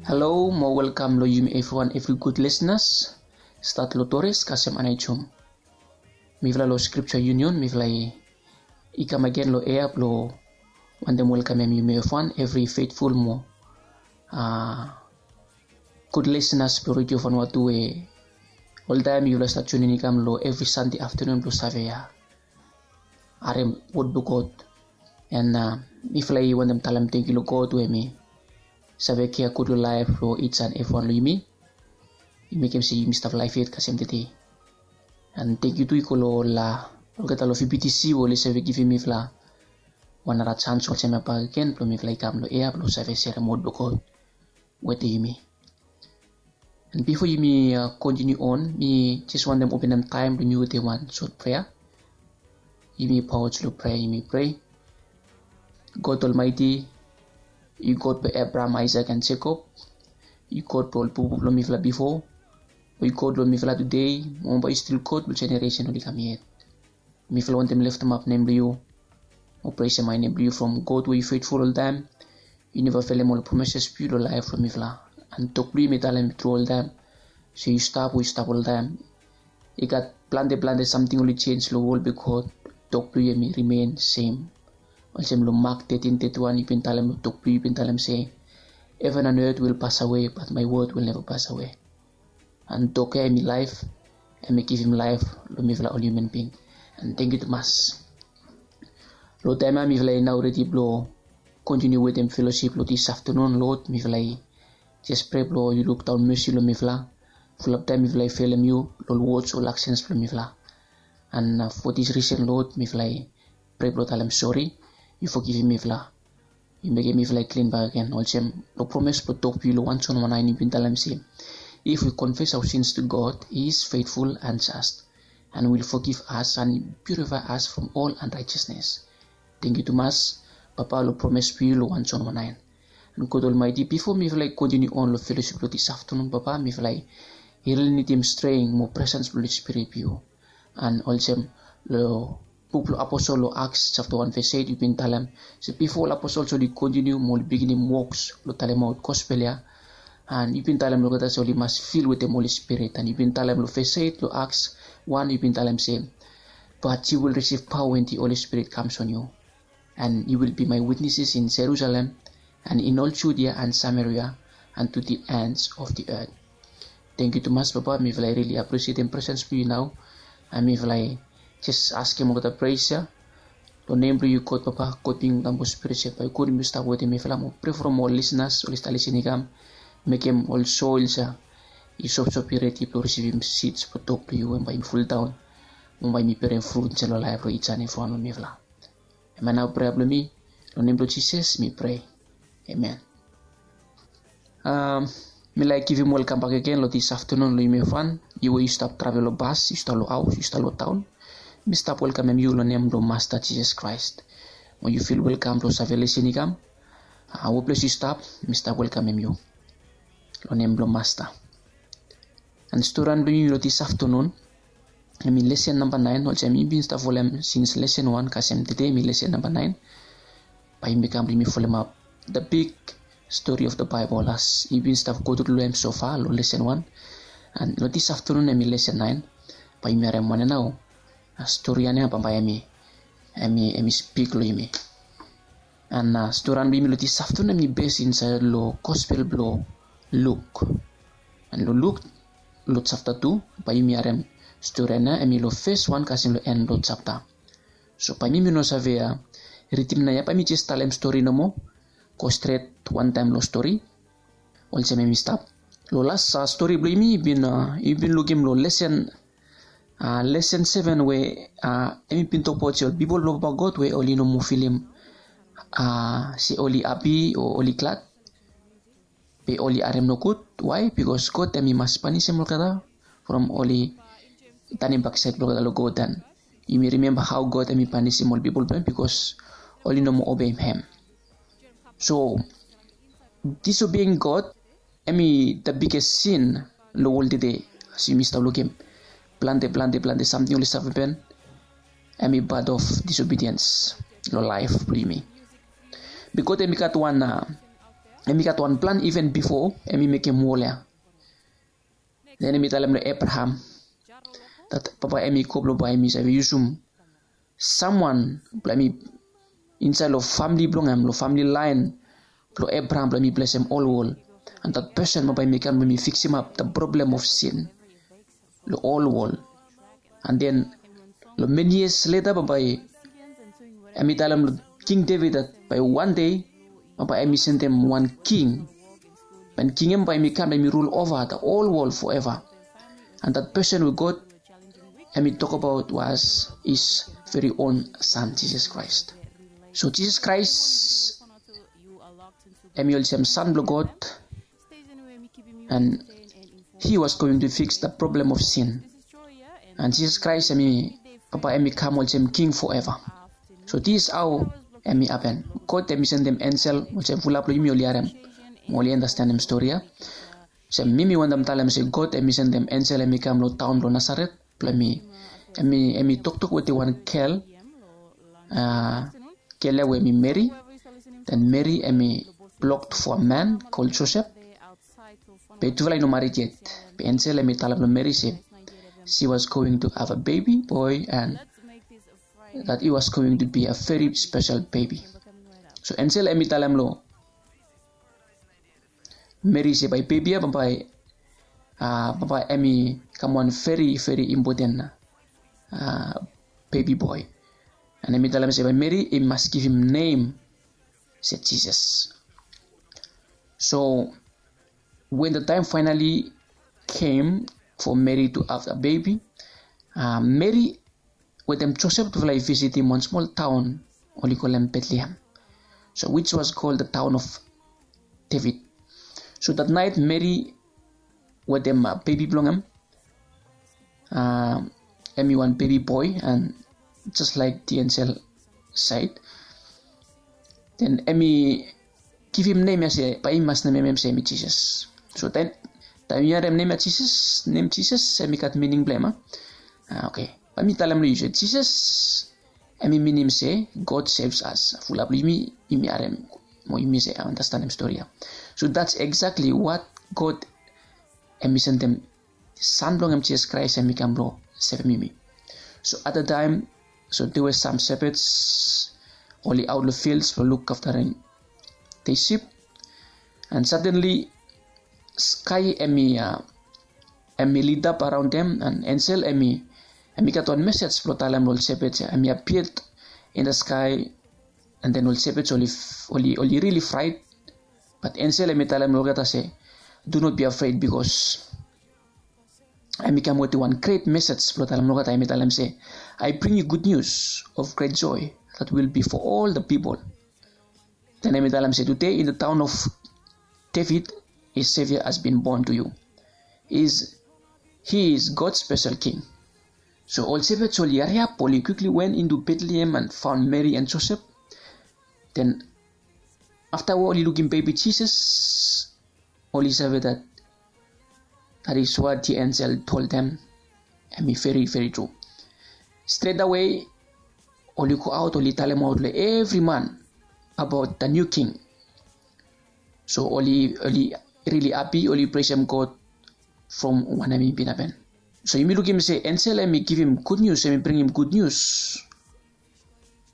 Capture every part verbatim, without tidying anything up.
Halo mo welkam long yumi evriwan, evri gud lisenas. Stat long Tores kasem Anaijum. Mifala long Scripture Union mifala i kam agen long ea blong wantem welkamem yumi evriwan, evri feitful mo gud lisenas blong Redio Vanuatu we oltaem yufala stap tunin i kam long evri Sande aftanun blong save harem wod blong God. And mifala i wantem talem tangkiu long God we mi save kea gud long laef blong each and evriwan long yumi. I mekem se yumi stap laef yet kasem tede. And tangkiu tu i go long ol olgeta long V B T C we oli save givim mifala wan nara sans olsem ya bakegen blong mifala i kam long ea blong save serem wod blong God wetem yumi. And bifo yumi kontiniu on, mi jes wantem openem taem blong yumi wetem wan sot prea. Yumi paoa long prea, yumi prea. God Olmaeti, yu God blong Abraham, Aisak and Jekob. Yu God blong ol pupu blong mifala bifo, yu God blong mifala tede, mo bae yu stil God blong jeneresen oli kam yet. Mifala wantem leftemap nem blong yu mo presem hae nem blong yu from God we yu feitful oltaem. Yu neva felem ol promises blong yu long laef blong mifala. And tok blong yu mi talem tru oltaem se yu stap we yu stap oltaem. I gat plante plante samting oli jenj long wol, be God tok blong yu hemi rimen sem. Olsem long Mak tetin teti wan yu bin talem long tok blong yu, yu bin talem se, heaven and earth will pass away, but my word will never pass away. And tok ya hemi laef, hemi givim laef long mifala ol hiuman bing. And tangkiu tumas. Long taem ya mifala i nao redi blong kontiniu wetem felosip long dis aftanun, Lord, mifala i jes prea blong yu lukdaon mesi long mifala. Fulap taem mifala i felem yu long ol wods o aksens blong mifala. And fo dis risen, Lord, mifala i prea blong talem sori. Yu fogivim mifala. Yu mekem mifala i klin bakegen olsem long promes blong tok blong yu long Wan Jon wan naen yu bin talem se, if we confess our sins to God, he is faithful and just and will forgive us and purify us from all unrighteousness. Tangkiu tumas, Papa, long promes blong yu long Wan Jon wan naen. And God Olmaeti, bifo mifala i kontiniu on long felosip blong dis aftanun, Papa, mifala i rili nidim streng mo presens blong Holi Spirit blong yu. And olsem long buk blong Aposol long Aks japta wan ves eit yu bin talem se bifo ol aposol oli kontiniu mo oli biginim woks blong talemaot gospel ya, and yu bin talem long olgeta se oli mas fil wetem Holi Spirit. And yu bin talem long ves eit long Aks wan, yu bin talem se, but you will receive power when the Holy Spirit comes on you, and you will be my witnesses in Jerusalem and in all Judea and Samaria and to the ends of the earth. Tangkiu tumas, Papa, mifala i rili apresietem presens blong yu nao. And mifala i jes askem olgeta pres ya long nem blong yu, God Papa, God Pikinini, God Holi Spirit, se bae yu go, yu stap wetem mifala mo prea from ol lisenas oli stap lisin i kam. Mekem ol soils ya i sopsop, i redi blong risivim sids blong tok blong yu, we bae yumi fuldaon mo bae yumi berem frut insait long laef blong each and evriwan long mifala. Hemia nao prea blong mi, long nem blong Jisas mi prea. Amen. Mi laek givim welkam bakegen long dis aftanun long yumi evriwan. Yu we yu stap travel long bas, yu stap long haos, yu stap long taon, mi stap welkamem yu long nem blong Masta Jisas Kraes. Mo yu fil welkam blong save lisin i kam. Weples yu stap, mi stap welkamem yu long nem blong Masta. And storian blong yumi long dis aftanun hemi lesen namba naen, olsem yumi bin stap folem sins lesen wan kasem tede hemi lesen namba naen. Bae yumi kam blong yumi folemap the big story of the Bible as yumi bin stap go tru long hem so far long lesen wan. And long dis aftanun hemi lesen naen. Bae yumi harem wanem nao storian ya bambae hemi, hemi spik long yumi. And storian blong yumi long dis aftanun hemi bes insait long gospel blong Luk. And long Luk, long japta tu, bae yumi harem storian ya hemi long ves wan kasem long en blong japta. So bae yumi no save ridim nao ya, bae mi jes talem stori nomo, go stret wantaem long stori. Olsem hemi stap. Long las stori blong yumi, yumi bin lukim long lesen lesen seven we hemi bin tokbaot se ol pipol blong Papa God we oli no moa filim se oli hapi o oli glad, be oli harem nogud. Wae? Bikos God hemi mas panisim olgeta from oli tanem baksaed blong olgeta long God. And yumi rimemba hao God hemi panisim ol pipol blong hem bikos oli no moa obeim hem. So disobeing God hemi the biggest sin long wol tede. As yumi stap lukim plante plante plante samting oli save hapen, hemi part of disobedience long laef blong yumi. Be God hemi gat wan Em i gat wan plan even bifo em i mekem wol ya. Den em i talem long Abraham dat papa em i go blong bae em i save yusum samwan blong em i insait long famili blong em, long famili laen blong Abraham blong em i blesem ol wol. And dat pesen bambae em i kam blong em i fiksimap da problem of sin long ol wol. And den long many years later bambae em i talem long King David dat bae wan dei bambae em i sendem wan king. And king em bae em i kam em i rul ova da ol wol forever. And dat pesen we God em i tokbaot was his very own son, Jesus Christ. So Jesus Christ em i olsem son blong God, and he was going to fix the problem of sin. And Jesus Christ em i papa em i kam olsem king forever. So this is how em i happen. God em i sendem ensel olsem fulap long yumi oli harem mo oli andastanem stori ya. Olsem mi mi wantem talem se God em i sendem ensel em i kam long taon blong Nasaret blong em i em i em i toktok wetem wan gel uh, gel ya we em i Meri. Den Meri em i blocked for a man called Joseph. Be tufala i no marit yet. Be ensel em i talem long Meri se she was going to have a baby boy and that he was going to be a very special baby. So ensel em i talem long Meri se bae bebi ya bambae uh, bambae em i kam wan very very important uh, baby boy. And em i talem se bae Meri i mas givim nem se Jesus. So when the time finally came for Mary to have a baby, uh, Mary wetem Joseph tufala i visitim wan smol taon oli kolem Betlehem, so which was called the town of David. So that night Mary wetem uh, bebi blong em uh, em i wan bebi boy and just like the angel said, then em i givim nem ya se bae i mas nemem em se em i Jisas. So taem taem yu harem nem ya Jisas, nem Jisas em i gat mining blong em a. Ah, okay. Bae mi talem long yu se Jisas em i minim se God saves us. Fulap long yumi yumi harem mo yumi se andastanem stori ya. So that's exactly what God em i sendem Son blong em Jisas Kraes em i kam blong sevem yumi. So at that time, so there were some shepherds oli aot long fields blong luk aftarem the sheep. And suddenly sky em i uh, em i lit up around them and angel em i em i gat wan message blong talem long ol shepherds ya. Em i appeared in the sky and then ol shepherds oli oli oli really fright. But angel em i talem long olgeta se, do not be afraid because em i kam wetem wan great message blong talem long olgeta. Em i talem se, I bring you good news of great joy that will be for all the people. Then em i talem se, today in the town of David a savior has been born to you. Is he is God's special king. So ol shepherds oli hariap oli quickly went into Bethlehem and found Mary and Joseph. Then afta we oli lukim bebi Jisas, oli save that that is what the angel told them. Em i very very true. Straight away oli go aot oli talemaot long evri man about the new king. So oli oli really happy, oli presem God from wanem i bin happen. So yumi lukim se angel em i givim good news, em i bringim good news.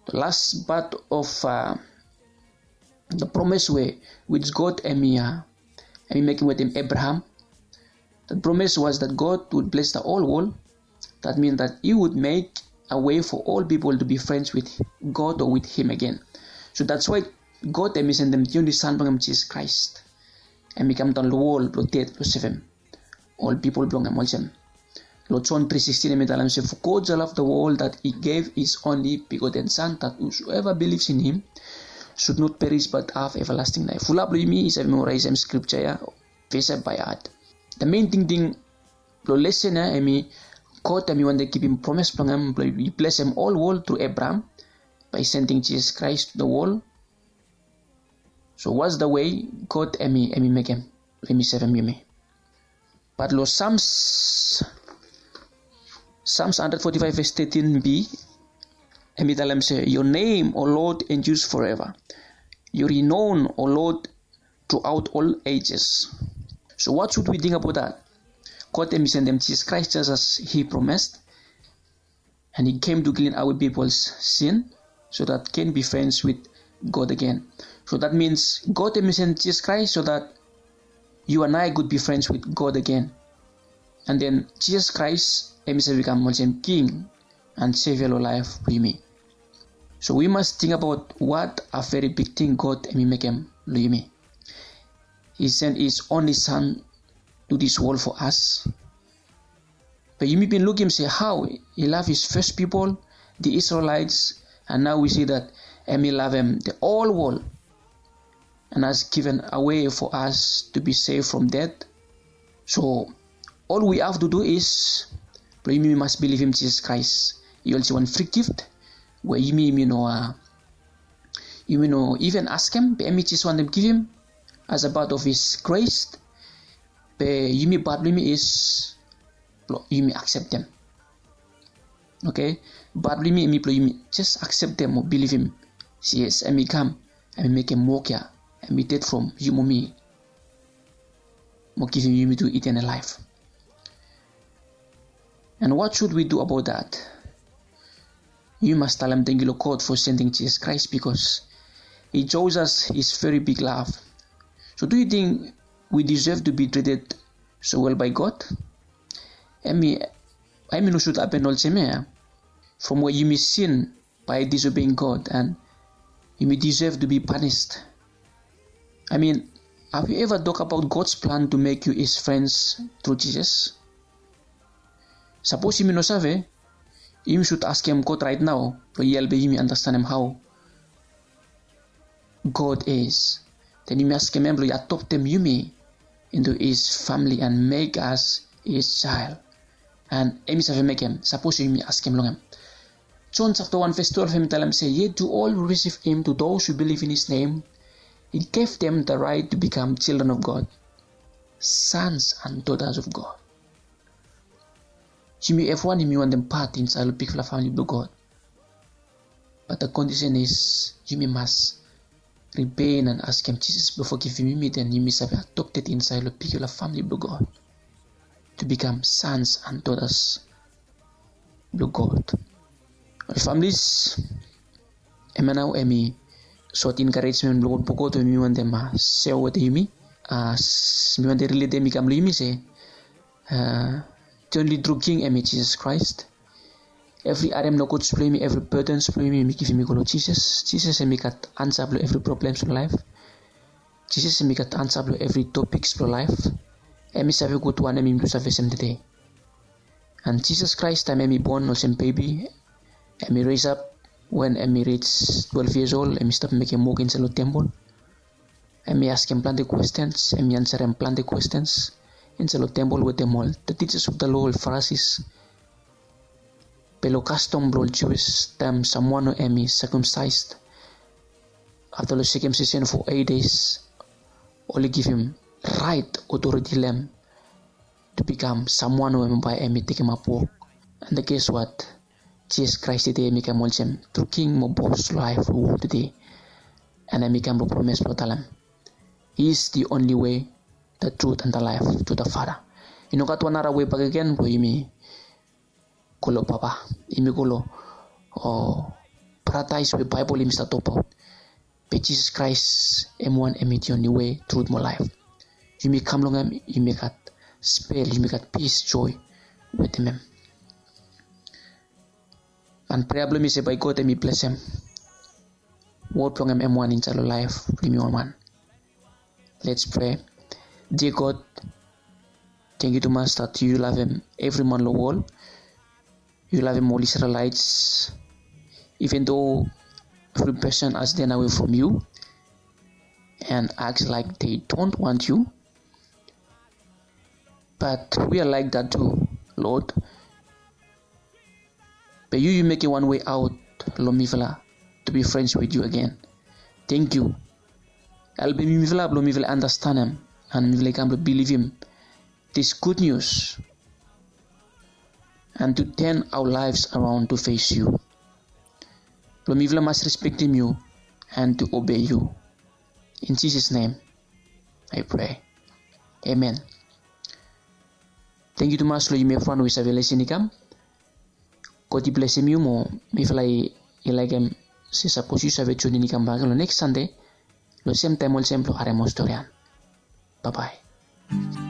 The last part of uh, the promise we which God em i uh, em i mekim wetem Abraham. The promise was that God would bless the whole world. That means that he would make a way for all people to be friends with God or with him again. So that's why God em i sendem the only son blong em Jesus Christ. Em i kam daon long wol blong ded blong sevem ol pipol blong em olsem. Long John three sixteen em i talem se, for God so loved the world that he gave his only begotten son that whosoever believes in him should not perish but have everlasting life. Fulap blong yumi i save memoraisem scripture ya, ves ya by heart. The main tingting blong lesen ya em i God em i wantem givim promise blong em blong i blesem ol wol tru Abraham by sending Jesus Christ to the world. So what's the way God em i em i mekem blong em i sevem yumi? But long Psalms Psalms hundred forty-five verse thirteen b em i talem se, your name, O Lord, endures forever. Your renown, O Lord, throughout all ages. So what should we think about that? God hemi sendem Jesus Christ just as he promised. And he came to clean our people's sin so that can be friends with God again. So that means God hemi send Jesus Christ so that you and I could be friends with God again. And then Jesus Christ hemi save kam olsem King and Savior lo laef blo yumi. So we must think about what a very big thing God hemi mekem lo yumi. He sent his only son to this world for us. Be yumi bin lukim se hao he lav his fes pipol, the Israelites, and now we see that hemi lavem the whole world and has given a way for us to be saved from death. So all we have to do is blo yumi mas bilivim Jesus Christ. I olsem wan free gift we yumi yumi no uh, yumi no even askem, be hemi just wantem givim as a part of his grace. Be yumi part blo yumi is blo yumi akseptem. Okay, part blo yumi hemi blo yumi just akseptem o bilivim se yes, hemi kam, hemi mekem wok ya, hemi ded from yu mo mi mo givim yumi tu eternal life. And what should we do about that? Yumi mas talem tangkiu lo God for sending Jesus Christ because he shows us his very big love. So do you think we deserve to be treated so well by God? Hemi hemi no should happen olsem ya from we yumi sin by disobeying God and yumi deserve to be punished. I mean, have you ever talk about God's plan to make you his friends through Jesus? Sapos yumi no save, yumi should askem God right now blo i helpem yumi understandem hao God is. Then yumi askem hem blo i adoptem yumi into his family and make us his child. And hemi save mekem sapos yumi askem long hem. John chapter one verse twelve hemi talem se, yet to all who receive him, to those who believe in his name, he gave them the right to become children of God, sons and daughters of God. Yumi evriwan yumi wantem pat insaed lo bigfala famili blo God. But the condition is yumi mas repent and askem Jesus blo fogivim yumi, then yumi save adopted insaed lo bigfala famili blo God to become sons and daughters blo God. Ol families, hemia nao hemi sot encouragement blo God we mi wantem uh, share wetem yumi. Uh, mi wantem relate hemi kam lo yumi se uh, the only true king hemi Jesus Christ. Evri harem nogut blo yumi, evri burdens blo yumi, yumi givim i go lo Jesus. Jesus hemi gat ansa blo evri problems blo laef. Jesus hemi gat ansa blo evri topics blo laef. Hemi save gud wanem yumi tu save sem tede. And Jesus Christ taem hemi bon olsem bebi, hemi raise up wen hemi reach twelve years old, hemi stap mekem wok insaed lo tempol. Hemi askem plante questions, hemi ansarem plante questions insaed lo tempol wetem ol the teachers of the law, ol Pharisees. Be lo kastom blo ol Jewish, taem samwan we hemi circumcised afta lo circumcision for eight days, oli givim right authority lo hem to become samwan we bae hemi tekemap wok. And guess what? Jesus Christ tede hemi kam olsem true king mo bos lo laef lo wol tede. And hemi kam lo promise blo talem, he is the only way, the truth and the life to the Father. I no gat wan nara wei bakegen blo yumi go lo Papa, yumi go lo paradaes we Baebol hemi stap tokbaot. Be Jesus Christ hem wan hemi the only way, truth mo laef. Yumi kam long hem, yumi gat spel, yumi gat peace, joy wetem hem. And prayer blo mi se bae God hemi blesem wod blong hem hem wan insaed lo laef blo yumi wanwan. Let's pray. Dear God, tangkiu tumas that yu lavem evri man lo wol. Yu lavem ol Israelites, even though every person has turned away from you and acts like they don't want you. But we are like that too, Lord. Be yu yu mekem wan way out lo mifala to be friends with you again. Tangkiu. Helpem mifala blo mifala andastanem and mifala i kam blo bilivim this good news and to turn our lives around to face you. Blo mifala mas respektem yu and to obey you. In Jesus' name, I pray. Amen. Tangkiu tumas long yumi evriwan we i save lisin i kam. God i blesim yu mo mifala i laikim se sapos yu save tunin i kam bak long neks Sande long sem taem olsem blong harem ol storian. Babae.